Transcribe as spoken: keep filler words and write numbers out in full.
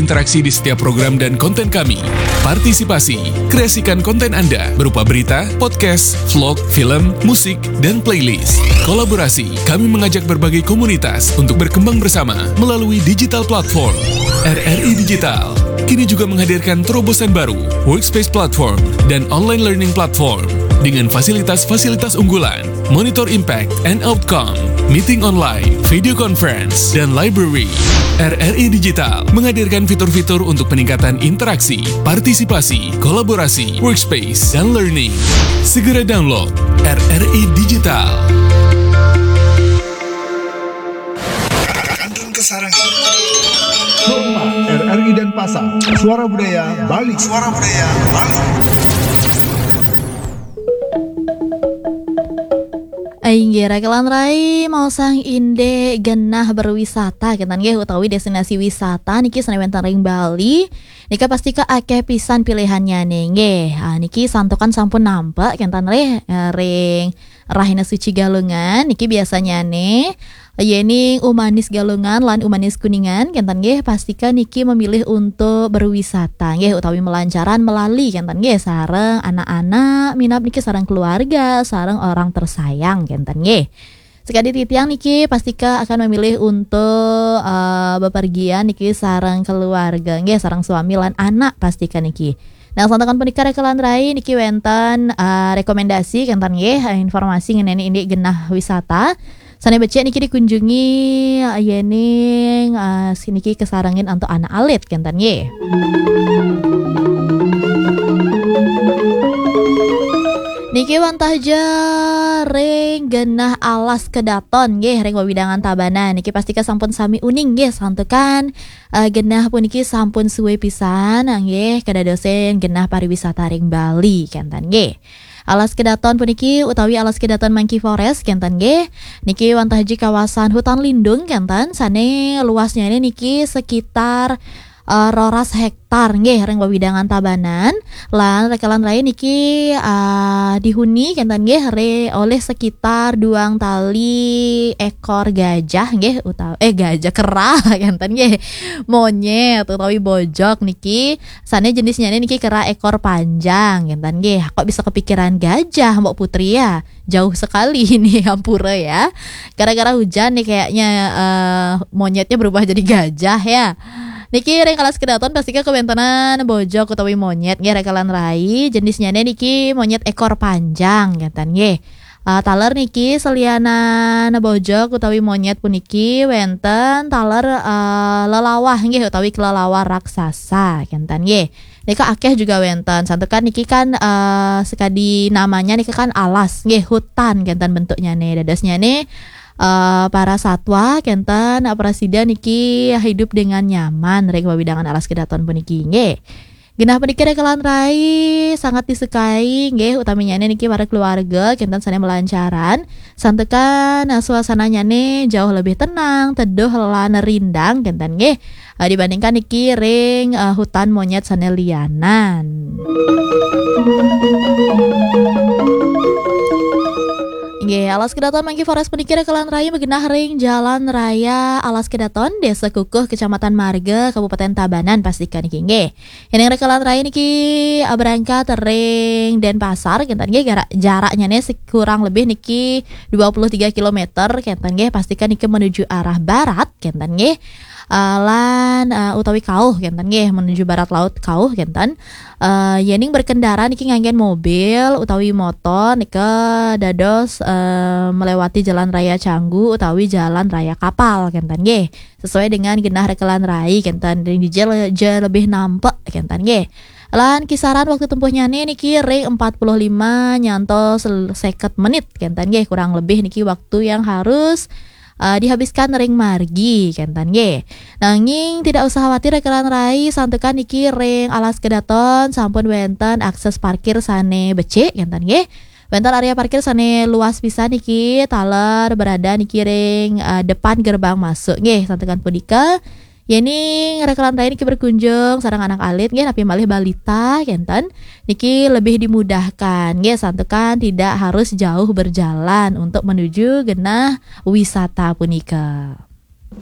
Interaksi di setiap program dan konten kami. Partisipasi, kreasikan konten Anda berupa berita, podcast, vlog, film, musik, dan playlist. Kolaborasi, kami mengajak berbagai komunitas untuk berkembang bersama melalui digital platform. R R I Digital kini juga menghadirkan terobosan baru, Workspace Platform dan Online Learning Platform dengan fasilitas-fasilitas unggulan, Monitor Impact and Outcome, Meeting Online, Video Conference, dan Library. R R I Digital menghadirkan fitur-fitur untuk peningkatan interaksi, partisipasi, kolaborasi, workspace, dan learning. Segera download R R I Digital. Kandun Kesarangan. Sukma, R R I Denpasar, Suara Budaya Bali. Suara Budaya Bali. Inggih, Rakelan Rai, mau sang indik genah berwisata, kénten nggih, utawi destinasi wisata niki sané wénten ring Bali. Nika pastika akéh pisan pilihannya nih, nggih. Ah, niki santukan sampun nampek, kénten nggih, eh, ring Rahina Suci Galungan, niki biasanya nih, yéning Umanis Galungan lan Umanis Kuningan, kénten nggih, pastika niki memilih untuk berwisata, nggih, utawi melancaran melali, kénten nggih, sareng anak-anak, minab niki sareng keluarga, sareng orang tersayang, kénten nggih. Sekadi titiang niki pastika akan memilih untuk, eh, bepergian niki sareng keluarga, nggih, sareng suami lan anak pastika niki. Nah, santukan punika Rakelan Rai niki wénten, eh, rekomendasi, kénten nggih, eh, informasi ngenani indik genah wisata. Sané becik niki dikunjungi, eh, yéning, eh, siniki kesarengin antuk anak alit, kénten nggih. Niki wantah ja ring genah Alas Kedaton nggih, ring wewidangan Tabanan. Niki pastika sampun sami uning nggih, santukan, eh, genah puniki sampun suwé pisan nggih kadadosin genah pariwisata ring Bali, kénten nggih. Alas Kedaton puniki utawi Alas Kedaton Monkey Forest, kénten nggih. Niki wantah ja kawasan hutan lindung, kénten, sané luasnya ini niki sekitar, eh, roras hektar nggih, ring wewidangan Tabanan. Lan Rakelan Rai niki, eh, dihuni, kénten nggih, re-, oleh sekitar duang tali ekor gajah nggih, utawi, eh, gajah, kera, kénten nggih. Monyét utawi bojog niki, sané jenisnya niki kera ekor panjang, kénten nggih. Kok bisa kepikiran gajah, Mbok Putri, ya? Jauh sekali ini, ampura ya. Gara-gara hujan nih kayaknya, eh, monyetnya berubah jadi gajah ya. Niki ring Alas Kedaton pastika kawéntenan bojog utawi monyét nggih, Rakelan Rai. Jenisnya niki monyét ekor panjang, kénten nggih. Eh, taler niki selianan bojog utawi monyét puniki wénten taler, eh, lelawah nggih, utawi kelelawar raksasa, kénten nggih. Nika akéh juga wénten. Santukan niki kan, eh, sekadi namanya nika kan alas nggih, hutan, kénten bentuknya nih. Dadosnya nih, eh, para satwa, kénten, eh, prasida niki hidup dengan nyaman ring wewidangan Alas Kedaton puniki nggih. Genah puniki Rakelan Rai sangat disukai nggih, utaminya niki para keluarga, kénten, sané melancaran. Santukan, eh, suasananya nih jauh lebih tenang, teduh lan rindang, kénten nggih. Eh, dibandingkan niki ring, eh, hutan monyét sané lianan. Nggih, Alas Kedaton Monkey Forest puniki Rakelan Rai magenah ring Jalan Raya Alas Kedaton, Désa Kukuh, Kecamatan Marga, Kabupaten Tabanan, pastika niki nggih. Yéning Rakelan Rai niki, eh, berangkat ring Denpasar, kénten nggih, gara-, jaraknya nih sekurang lebih niki dua puluh tiga kilometer, kénten nggih, pastika niki menuju arah barat, kénten nggih. Eh, lan, eh, utawi kauh, kénten nggih, menuju barat laut kauh, kénten. Eh, yéning berkendara niki nganggén mobil utawi motor nika dados, eh, melewati Jalan Raya Canggu utawi Jalan Raya Kapal, kénten nggih. Sesuai dengan genah Rakelan Rai, kénten, ring dija le-, ja lebih nampek, kénten nggih. Lan kisaran waktu tempuhnya nih niki ring empat puluh lima nyantos seket menit, kénten nggih, kurang lebih niki waktu yang harus, eh, dihabiskan ring margi, kénten nggih. Nanging tidak usah khawatir, Rakelan Rai, santukan niki ring Alas Kedaton sampun wénten akses parkir sané becik, kénten nggih. Wénten area parkir sané luas pisan niki, taler berada niki ring, eh, depan gerbang masuk nggih, santukan punika. Yéning Rakelan Rai niki berkunjung sareng anak alit nggih, napi malih balita, kénten, niki lebih dimudahkan nggih, santukan tidak harus jauh berjalan untuk menuju genah wisata punika.